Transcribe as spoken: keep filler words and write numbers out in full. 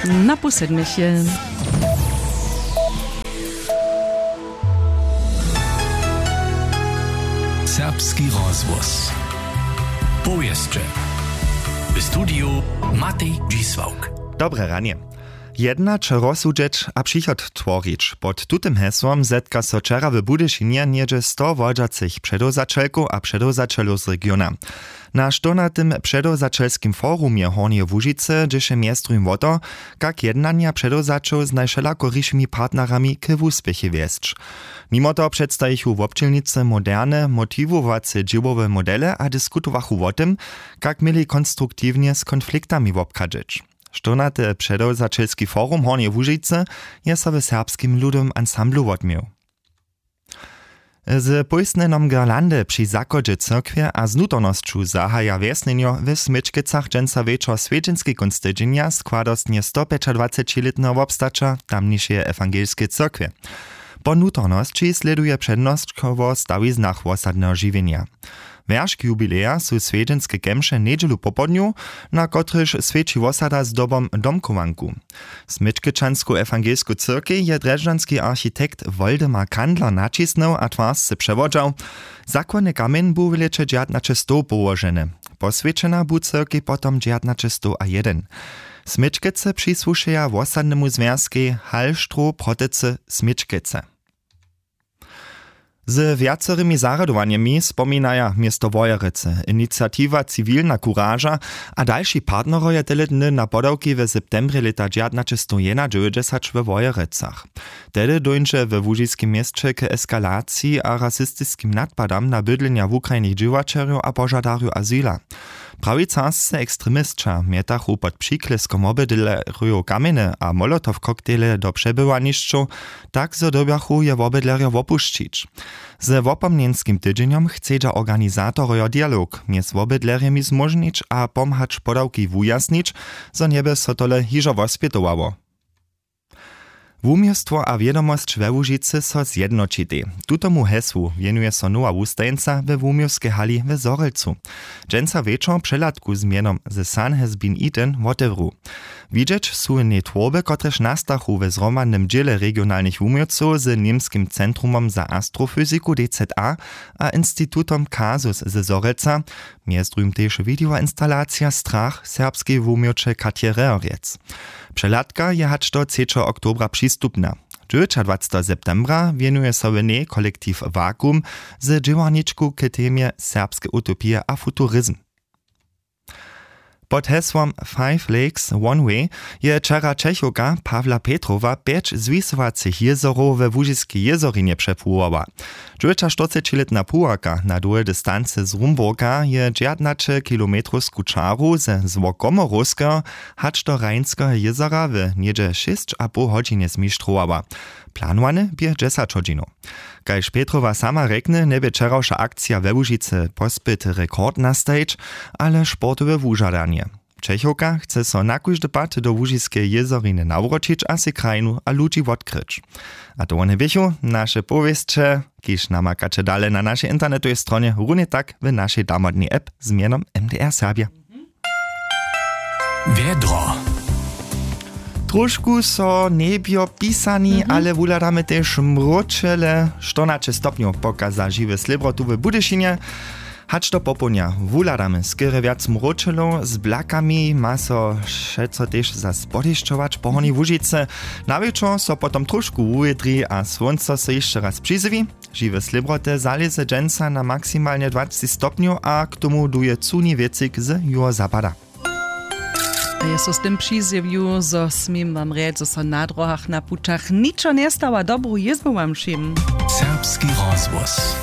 Na pół sedmich je. Serbski rozhłos. Powěsće. W studiju Matej Dźisławk. Dobre ranje. Jednać, rozsudźeć a přichod tworić, pod tutym hesłom zetka so wčera w Budyšinje něhdźe sto wodźacych předewzaćelkow a předewzaćelow z regiona. Na štyrnatym předewzaćelskim forumje Hornjeje Łužicy dźěše mjez druhim wo to, kak jednanja předewzaćow z najwšelakorišimi partnerami k wuspěchej wjesć. Nimo toho předstajichu wobdźělnicy moderne motiwowace dźěłowe modele a diskutowachu wo tym, kak měli konstruktiwnje z konfliktami wobchadźeć. Štyrnaty předewzaćelski forum Hornjeje Łužicy je so w Serbskim ludowym ansamblu wotměł. Z pójstnjenom girlandy při zachodźe cyrkwje a z nutornosću zahaja wjesnjenjo w Směčkecach dźensa wječor swjedźenski kónc tydźenja składostnje stopjećadwacećilětneho wobstaća tamnišeje ewangelskeje cyrkwje. Po nutornosći slěduje přednosć wo stawiznach wosadneho žiwjenja. Wjeršk jubileja su swjedźenske kemše njedźelu popołdnju, na kotrychž swjeći wosada zdobom domchowanku. Směčkečansku ewangelsku cyrkej je drježdźanski architekt Woldemar Kandler naćisnył a twarsce přewodźał. Zakładny kamjeń bu w lěće dźewjatnaće stow połoženy. Poswjećena bu cyrkej potom dźewjatnaće stow a jedyn. Směčkece přisłušeja wosadnemu zwjazkej Hallstroh Protecy Směčkece. Z wjacorymi zarjadowanjemi spominaja město Wojerecy, iniciatiwa Ciwilna kuraža a dalši partnerojo tele dny na podawki w septembrje lěta dźewjatnaće stow jedynadźewjećdźesać we Wojerecach. Tehdy dóńdźe we łužiskim měsće k eskalaciji a rasistiskim nadpadam na bydlenja wukrajnych dźěłaćerjow a požadarjow azyla. Prawicarscy ekstremisća mjetachu pod přikleskom wobydlerjow kamjeny a molotow-koktejle do přebywanišćow, tak zo dyrbjachu je wobydlerjo wopušćić. Ze wopomnjenskim tydźenjom chcedźa organizatorojo dialog mjez wobydlerjemi zmóžnić a pomhać podawki wujasnić, zo njeby so tole hižo wospjetowało. Wuměłstwo a wědomosć we Łužicy so zjednoćitej. Tutomu hesłu wěnuje so nowa wustajeńca we wuměłskej hali w Zhorjelcu. Dźensa wječor přehladku z mjenom The Sun Has Been Eaten wotewru. Widźeć su w njej twórby, kotrež nastachu we zhromadnym dźěle regionalnych wuměłcow z Němskim centrumom za astrofyziku D Z A a institutom Kasus ze Zhorjelca. Mjez druhim tež widejoinstalacija Strach serbskeje wuměłće Katje Rehrjec. Přehladka je hač do třećeho oktobra přistupna. Dźewjećadwaceteho septembra wěnuje so w njej kolektiw Vakuum z dźěłarničku k temje serbske utopije a futurizm. Pod hesłom Five Lakes One Way je wčera Čechowka Pawla Petrowa pjeć zwisowacych jězorow we Łužiskej jězorinje přepłuwała. Dźewjećaštyrcećilětna puwarka na dołhej distancy z Rumburka je dźewjatnaće kilometrowsku čaru ze złokomorowskeho hač do Rajnskeho jězora w něhdźe šěsć a poł hodźinje zmištrowała. Planowany bě dźesać hodźinow. Kaž Petrowa sama rjekny, njebě wčerawša akcija we Łužicy pospět rekord nastajić, ale sportowe wužadanje. Čechowka chce so na kóždy pad do Łužiskeje jězoriny nawróćić a sej krajinu a ludźi wotkryć. A to wone běchu naše powěsće, kiž namakaće dale na našej internetowej stronje, runje tak w našej damodnej app z mjenom M D R Serbja. Wjedro. Trošku so njebjo pisani, ale wuhladamy tež mróčele. Štyrnaće stopnjow pokaza Žiwy slěbro tu w Budyšinje. Hač do popołdnja wuhladamy skerje wjac mróčelow, z blakami ma so wšeco tež zas podešćować po Hornjej Łužicy. Na wječor so potom trošku wuwědri a słónco so hišće raz přizjewi. Žiwe slěbroty zalěze dźensa na maksimalnje dwacci stopnjow a k tomu duje cuni wětřik z juhozapada. A je so z tym přizjewił, zo směm wam rjeć, zo so na dróhach, na pućach ničo njestawa. Dobru jězbu wam wšěm. Serbski rozhłos.